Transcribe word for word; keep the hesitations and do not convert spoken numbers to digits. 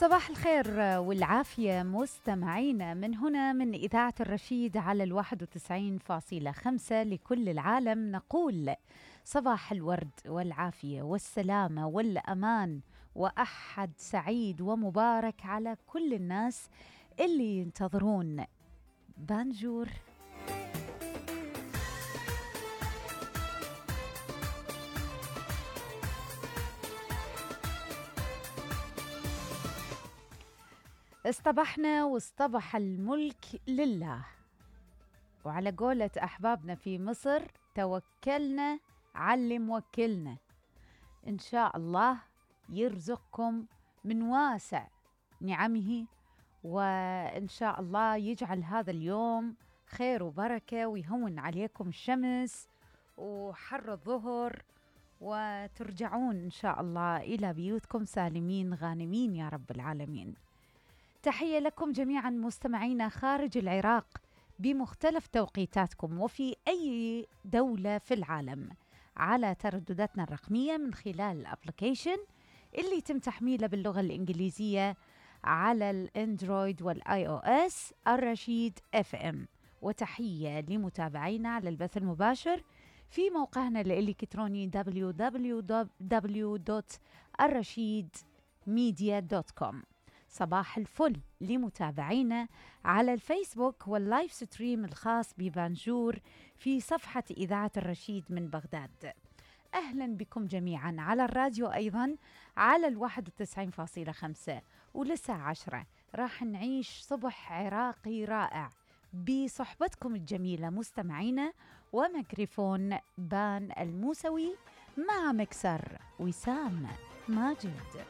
صباح الخير والعافية مستمعينا من هنا من إذاعة الرشيد على الواحد وتسعين فاصلة خمسة لكل العالم. نقول صباح الورد والعافية والسلامة والأمان وأحد سعيد ومبارك على كل الناس اللي ينتظرون بانجور. اصطبحنا واصطبح الملك لله، وعلى قولة أحبابنا في مصر توكلنا على اللي موكلنا. إن شاء الله يرزقكم من واسع نعمه، وإن شاء الله يجعل هذا اليوم خير وبركة ويهون عليكم الشمس وحر الظهر، وترجعون إن شاء الله إلى بيوتكم سالمين غانمين يا رب العالمين. تحية لكم جميعا مستمعينا خارج العراق بمختلف توقيتاتكم وفي أي دولة في العالم على تردداتنا الرقمية من خلال الابليكيشن اللي يتم تحميله باللغة الإنجليزية على الأندرويد والآي أو إس الرشيد اف ام. وتحية لمتابعينا على البث المباشر في موقعنا الإلكتروني دبليو دبليو دبليو دوت الرشيد ميديا دوت كوم. صباح الفل لمتابعينا على الفيسبوك واللايف ستريم الخاص ببانجور في صفحة إذاعة الرشيد من بغداد. أهلا بكم جميعا على الراديو أيضا على الواحد وتسعين فاصلة خمسة، ولساعة عشرة راح نعيش صبح عراقي رائع بصحبتكم الجميلة مستمعينا، وميكروفون بان الموسوي مع مكسر وسام ماجد.